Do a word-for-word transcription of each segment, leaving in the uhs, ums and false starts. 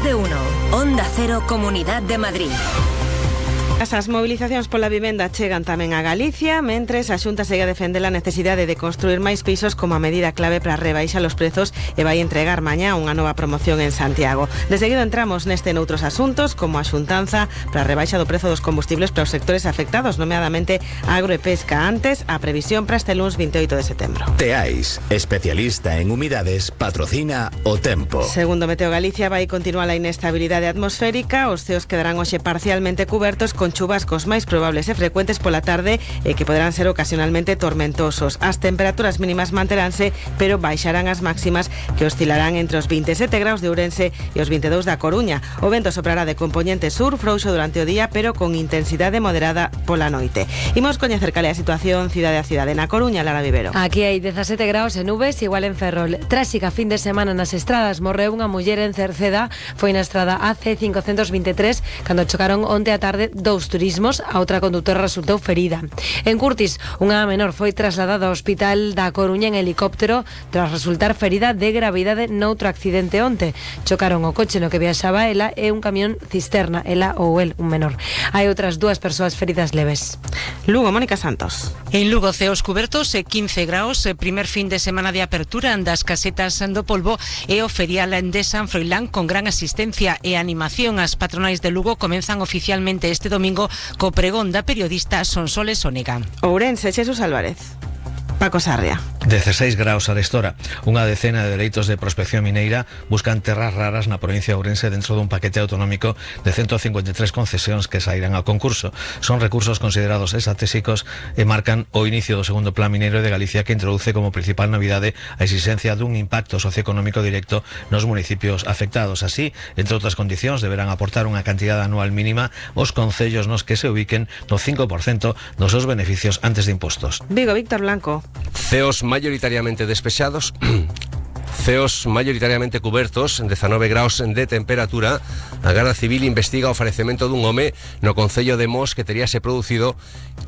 Más de uno. Onda Cero, Comunidad de Madrid. As movilizacións pola vivenda chegan tamén a Galicia, mentres a Xunta segue a defender a necesidade de construir máis pisos como a medida clave para rebaixar os prezos e vai entregar mañá unha nova promoción en Santiago. De seguido entramos neste noutros asuntos, como a xuntanza para a rebaixa do prezo dos combustibles para os sectores afectados, nomeadamente agro e pesca. Antes, a previsión para este luns veintioito de setembro. Teais, especialista en humidades, patrocina o tempo. Segundo Meteo Galicia, vai continuar a inestabilidade atmosférica. Os ceos quedarán hoxe parcialmente cubertos con chubascos máis probables e frecuentes pola tarde e que poderán ser ocasionalmente tormentosos. As temperaturas mínimas manteránse, pero baixarán as máximas, que oscilarán entre os veintisiete graus de Ourense e os veintidós da Coruña. O vento soprará de compoñente sur, frouxo durante o día, pero con intensidade moderada pola noite. Imos coñecer cal é a situación cidade a cidade. Na Coruña, Lara Vivero. Aquí hai dezasete graus e nubes, igual en Ferrol. Tráxica fin de semana nas estradas. Morreu unha muller en Cerceda. Foi na estrada A C cincocentos veintitrés cando chocaron onte a tarde dous turismos. A outra condutora resultou ferida. En Curtis, unha menor foi trasladada ao hospital da Coruña en helicóptero tras resultar ferida de gravidade noutro accidente onte. Chocaron o coche no que viaxaba ela e un camión cisterna, ela ou el, un menor. Hai outras dúas persoas feridas leves. Lugo, Mónica Santos. En Lugo, ceos cubertos e quince graus, primer fin de semana de apertura das casetas do Polvo e o ferial de San Froilán con gran asistencia e animación. As patronais de Lugo comenzan oficialmente este domingo co pregón da periodista Sonsoles Onega. Ourense, Xesús Álvarez. Paco Sarria. dezasseis graus a destora. Unha decena de dereitos de prospección mineira buscan terras raras na provincia de Ourense dentro dun paquete autonómico de ciento cincuenta e tres concesións que sairán ao concurso. Son recursos considerados estratégicos e marcan o inicio do segundo plan mineiro de Galicia, que introduce como principal novidade a exigencia dun impacto socioeconómico directo nos municipios afectados. Así, entre outras condicións, deberán aportar unha cantidade anual mínima os concellos nos que se ubiquen no cinco por cento dos seus beneficios antes de impostos. Vigo, Víctor Blanco. Ceos mayoritariamente despechados, ceos mayoritariamente cubertos, dezanove graus de temperatura. A Garda Civil investiga o falecemento dun home no concello de Mos que teríase producido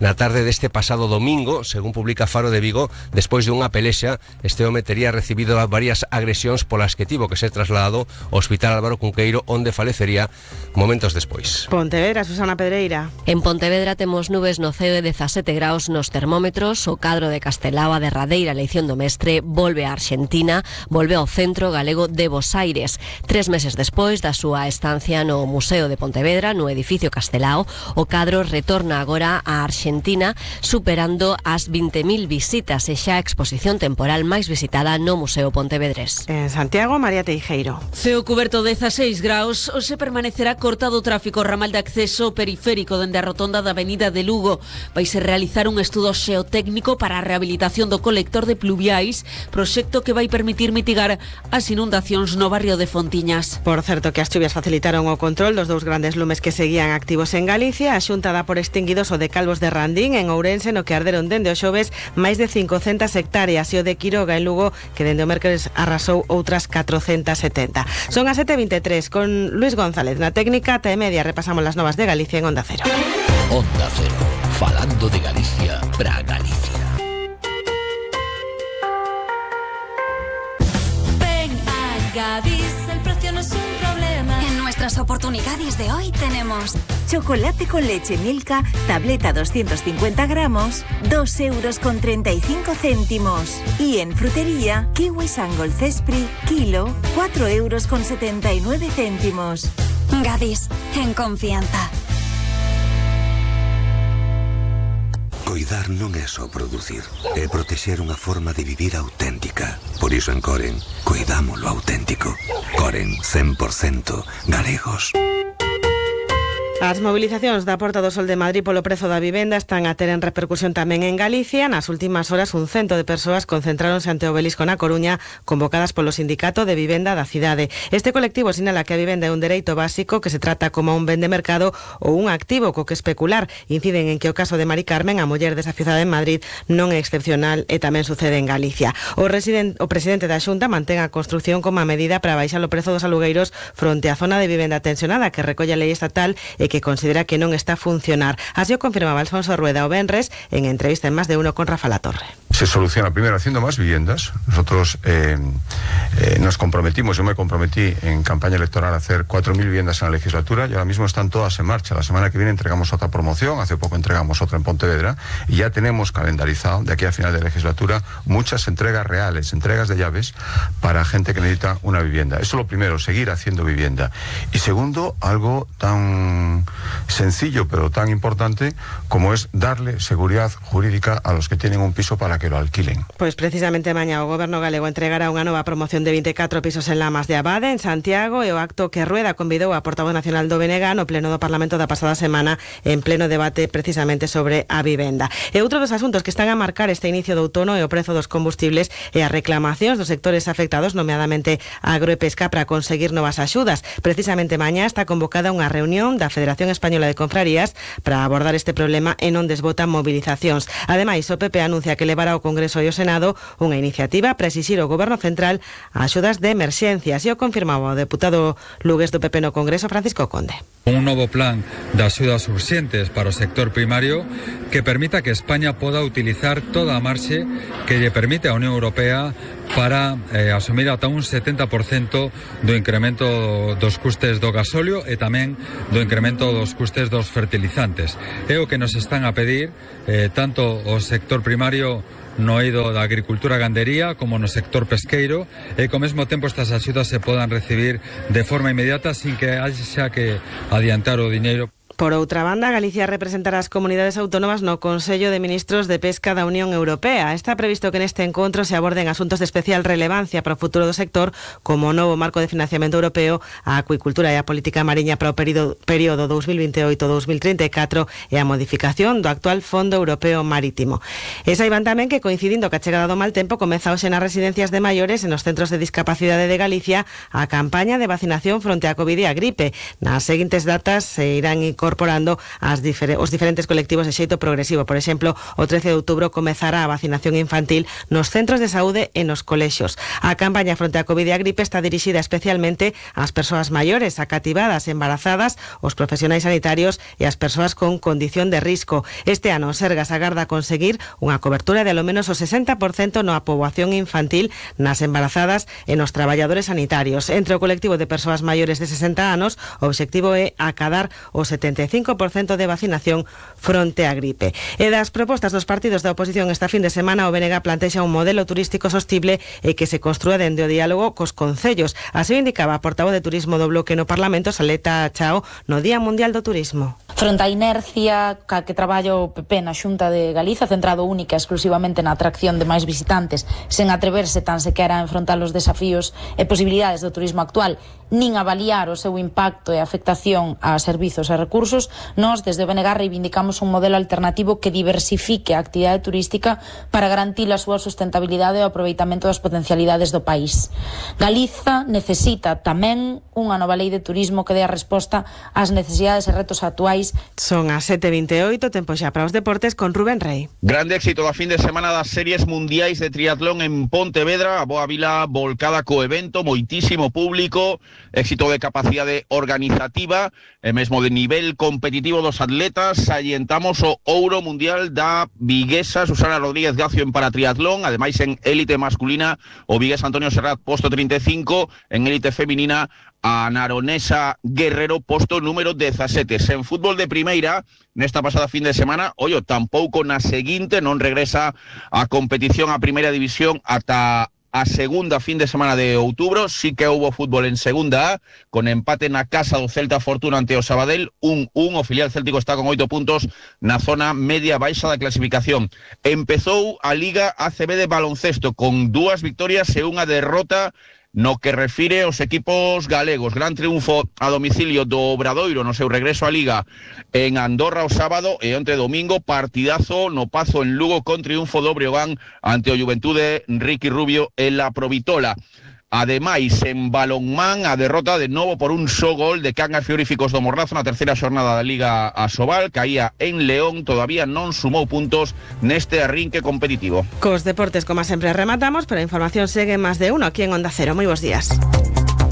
na tarde deste pasado domingo, según publica Faro de Vigo. Despois de unha pelexa, este home tería recibido varias agresións polas que tivo que ser trasladado ao Hospital Álvaro Cunqueiro, onde falecería momentos despois. Pontevedra, Susana Pedreira. En Pontevedra temos nubes no ceo e dezasete graus nos termómetros. O cadro de Castelao, a derradeira eleición do mestre, volve a Arxentina, volve ao Centro Galego de Bos Aires. Tres meses despois da súa estancia no Museo de Pontevedra, no edificio Castelao, o cadro retorna agora a Arxentina, superando as vinte mil visitas e xa a exposición temporal máis visitada no Museo Pontevedrés. En Santiago, María Teijeiro. Ceo cuberto dezasseis graus, hoxe permanecerá cortado o tráfico ramal de acceso periférico dende a rotonda da Avenida de Lugo. Vaise realizar un estudo xeotécnico para a rehabilitación do colector de pluviais, proxecto que vai permitir mitigar as inundacións no barrio de Fontiñas. Por certo que as chuvias facilitaron o control dos dous grandes lumes que seguían activos en Galicia. A Xunta dá por extinguidos o de Calvos de Randín en Ourense, no que arderon dende o xoves máis de cincocentas hectáreas, e o de Quiroga en Lugo, que dende o mércores arrasou outras catrocentas setenta. Son as sete e veintitrés, con Luis González na técnica. Ata e media repasamos las novas de Galicia en Onda Cero. Onda Cero, falando de Galicia para Galicia. Ven a Gadis, el precio no es un problema. En nuestras oportunidades de hoy tenemos chocolate con leche Milka, tableta doscientos cincuenta gramos, dos euros con treinta y cinco céntimos. Y en frutería, kiwi Sangol Cespri, kilo, cuatro euros con setenta y nueve céntimos. Gadis, en confianza. Coidar non é só producir, é protexer unha forma de vivir auténtica. Por iso en Coren, coidamos lo auténtico. Coren, cen por cento galegos. As mobilizacións da Porta do Sol de Madrid polo prezo da vivenda están a ter en repercusión tamén en Galicia. Nas últimas horas un cento de persoas concentráronse ante o Obelisco na Coruña, convocadas polo Sindicato de Vivenda da cidade. Este colectivo sinala que a vivenda é un dereito básico que se trata como un ben de mercado ou un activo co que especular. Inciden en que o caso de Mari Carmen, a muller desafiuzada en Madrid, non é excepcional e tamén sucede en Galicia. O, residen, o presidente da Xunta mantén a construción como a medida para baixar o prezo dos alugueiros fronte á zona de vivenda tensionada que recolle a lei estatal e que considera que non está a funcionar. Así o confirmaba Alfonso Rueda o venres en entrevista en Más de Uno con Rafa Latorre. se soluciona primero haciendo más viviendas. Nosotros eh, eh, nos comprometimos, yo me comprometí en campaña electoral a hacer cuatro mil viviendas en la legislatura y ahora mismo están todas en marcha. La semana que viene entregamos otra promoción, hace poco entregamos otra en Pontevedra y ya tenemos calendarizado de aquí a final de legislatura muchas entregas reales, entregas de llaves para gente que necesita una vivienda. Eso es lo primero, seguir haciendo vivienda. Y segundo, algo tan sencillo pero tan importante como es darle seguridad jurídica a los que tienen un piso para que lo alquilen. Pois precisamente mañá o Goberno galego entregará unha nova promoción de vinte e catro pisos en Lamas de Abade, en Santiago, e o acto que Rueda convidou a portavoz nacional do B N G no pleno do Parlamento da pasada semana en pleno debate precisamente sobre a vivenda. E outro dos asuntos que están a marcar este inicio de outono é o prezo dos combustibles e as reclamacións dos sectores afectados, nomeadamente agro e pesca, para conseguir novas axudas. Precisamente mañá está convocada unha reunión da Federación Española de Confrarías para abordar este problema e non desbotan movilizacións. Ademais, o P P anuncia que levará ao Congreso e ao Senado unha iniciativa para exixir ao Goberno Central axudas de emerxencias, e o confirmaba o deputado lugués do P P no Congreso, Francisco Conde. Un novo plan de axudas urxentes para o sector primario que permita que España poda utilizar toda a marxe que lle permite a Unión Europea para eh, asumir ata un setenta por cento do incremento dos custes do gasóleo e tamén do incremento dos custes dos fertilizantes. É o que nos están a pedir eh, tanto o sector primario no eido da agricultura e gandería como no sector pesqueiro, e que ao mesmo tempo estas axudas se podan recibir de forma inmediata sin que haxa que adiantar o diñeiro. Por outra banda, Galicia representará as comunidades autónomas no Consello de Ministros de Pesca da Unión Europea. Está previsto que neste encontro se aborden asuntos de especial relevancia para o futuro do sector, como o novo marco de financiamento europeo, a acuicultura e a política mariña para o período, período dos mil veintioito a dos mil trinta e catro e a modificación do actual Fondo Europeo Marítimo. E saiban tamén que, coincidindo ca chegada do mal tempo, comeza hoxe nas residencias de maiores e nos centros de discapacidade de Galicia a campaña de vacinación fronte á Covid e a gripe. Nas seguintes datas se irán incorporando as difer- os diferentes colectivos de xeito progresivo. Por exemplo, o trece de outubro comezará a vacinación infantil nos centros de saúde e nos colexios. A campaña fronte á Covid e a gripe está dirixida especialmente ás persoas maiores, acativadas, embarazadas, os profesionais sanitarios e as persoas con condición de risco. Este ano, o Sergas agarda conseguir unha cobertura de alo menos o sesenta por cento na poboación infantil, nas embarazadas e nos traballadores sanitarios. Entre o colectivo de persoas maiores de sesenta anos, o obxectivo é acadar o setenta e cinco por cento de vacinación fronte á gripe. E das propostas dos partidos da oposición esta fin de semana, o B N G plantexa un modelo turístico sostible e que se construa dende o diálogo cos concellos. Así indicaba a portavoz de Turismo do Bloque no Parlamento, Saleta Chao, no Día Mundial do Turismo. Fronte á inercia ca que traballa o P P na Xunta de Galiza, centrado única e exclusivamente na atracción de máis visitantes, sen atreverse tan sequera a enfrontar os desafíos e posibilidades do turismo actual, nin avaliar o seu impacto e afectación a servizos e recursos, nós desde o B N G reivindicamos un modelo alternativo que diversifique a actividade turística para garantir a súa sustentabilidade e o aproveitamento das potencialidades do país. Galiza necesita tamén unha nova lei de turismo que dé a resposta ás necesidades e retos actuais. Son as sete e vinte e oito, tempo xa para os deportes con Rubén Rey. Grande éxito da fin de semana das series mundiais de triatlón en Pontevedra, a Boa Vila volcada co evento, moitísimo público, éxito de capacidade organizativa e mesmo de nivel competitivo dos atletas. Salientamos o ouro mundial da viguesa Susana Rodríguez Gacio en paratriatlón, ademais en élite masculina o vigués Antonio Serrat posto treinta e cinco, en élite feminina a naronesa Guerrero posto número dezasete. En fútbol de primeira, nesta pasada fin de semana, ollo, tampouco na seguinte, non regresa a competición a primeira división ata a segunda fin de semana de outubro. Sí que houbo fútbol en segunda A, con empate na casa do Celta Fortuna ante o Sabadell, un un, o filial céltico está con oito puntos na zona media baixa da clasificación. Empezou a Liga A C B de baloncesto con dúas victorias e unha derrota no que refire aos equipos galegos. Gran triunfo a domicilio do Obradoiro no seu regreso á Liga en Andorra o sábado, e onte domingo partidazo no Pazo en Lugo con triunfo do Breogán ante o Juventude Ricky Rubio en la Provitola. Ademais, en balonmán, a derrota de novo por un só gol de Cangas Frigoríficos do Morrazo na terceira xornada da Liga Asobal, caía en León, todavía non sumou puntos neste arrinque competitivo. Cos deportes, como sempre, rematamos, pero a información segue máis de uno aquí en Onda Cero. Moi bons días.